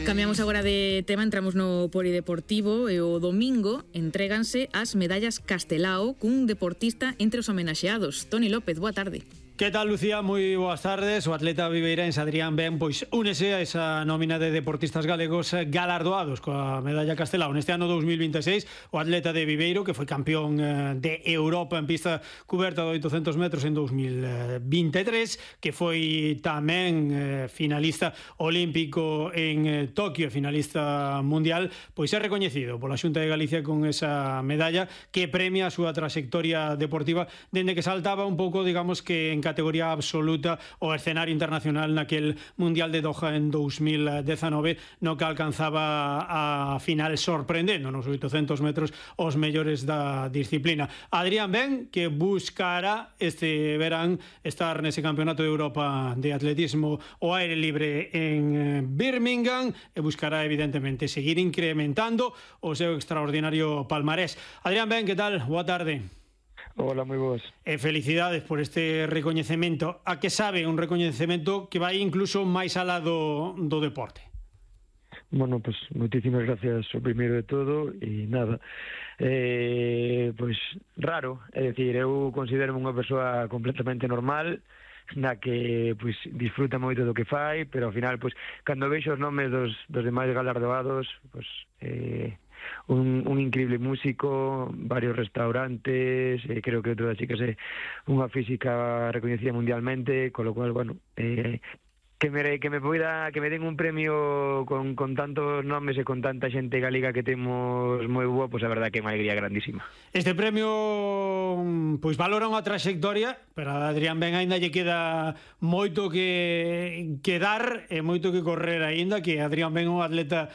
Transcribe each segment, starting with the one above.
Cambiamos agora de tema, entramos no polideportivo e o domingo entréganse as medallas Castelao cun deportista entre os homenaxeados. Toni López, boa tarde. Que tal, Lucía? Moi boas tardes. O atleta viveirense Adrián Ben pois únese a esa nómina de deportistas galegos galardoados coa medalla Castelao. Neste ano 2026, o atleta de Viveiro, que foi campeón de Europa en pista cuberta de 800 metros en 2023, que foi tamén finalista olímpico en Tokio, finalista mundial, pois é recoñecido pola Xunta de Galicia con esa medalla que premia a súa trayectoria deportiva dende que saltaba un pouco, digamos que en categoría absoluta o escenario internacional naquel Mundial de Doha en 2019, no que alcanzaba a final sorprendendo nos 800 metros os mellores da disciplina. Adrián Ben, que buscará este verán estar nese Campeonato de Europa de Atletismo ao aire libre en Birmingham e buscará evidentemente seguir incrementando o seu extraordinario palmarés. Adrián Ben, que tal? Boa tarde. Hola, moi boas. E felicidades por este recoñecemento. A que sabe un recoñecemento que vai incluso máis alá do deporte? Bueno, pues moitísimas gracias o primeiro de todo e nada, pois raro, é dicir, eu considero unha persoa completamente normal na que pois disfruta moito do que fai, pero ao final pois cando vexo os nomes dos demais galardoados, pois un increíble músico, varios restaurantes, creo que todas as chicas é unha física recoñecida mundialmente, con lo cual, bueno, que me den un premio con tantos nomes e con tanta xente galega que temos moi boa, pois a verdad que é unha alegría grandísima. Este premio pois valora unha trayectoria, pero a Adrián Ben aínda lle queda moito que dar e moito que correr aínda, que Adrián Ben é un atleta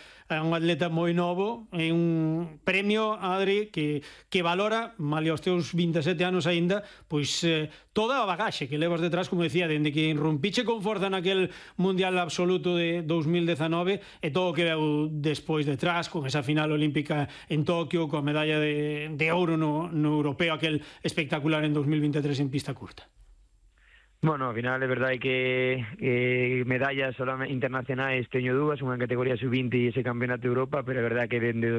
moi novo, é un premio, Adri, que valora, malia os teus 27 anos aínda, pois toda a bagaxe que levas detrás, como decía, dende que irrumpiche con forza naquel Mundial absoluto de 2019 e todo o que veu despois detrás, con esa final olímpica en Tokio, coa medalla de ouro no europeo, aquel espectacular en 2023 en pista curta. Bueno, ao final é verdade que medallas internacionais teño dúas, unha en categoría sub-20 e ese Campeonato de Europa, pero é verdade que dende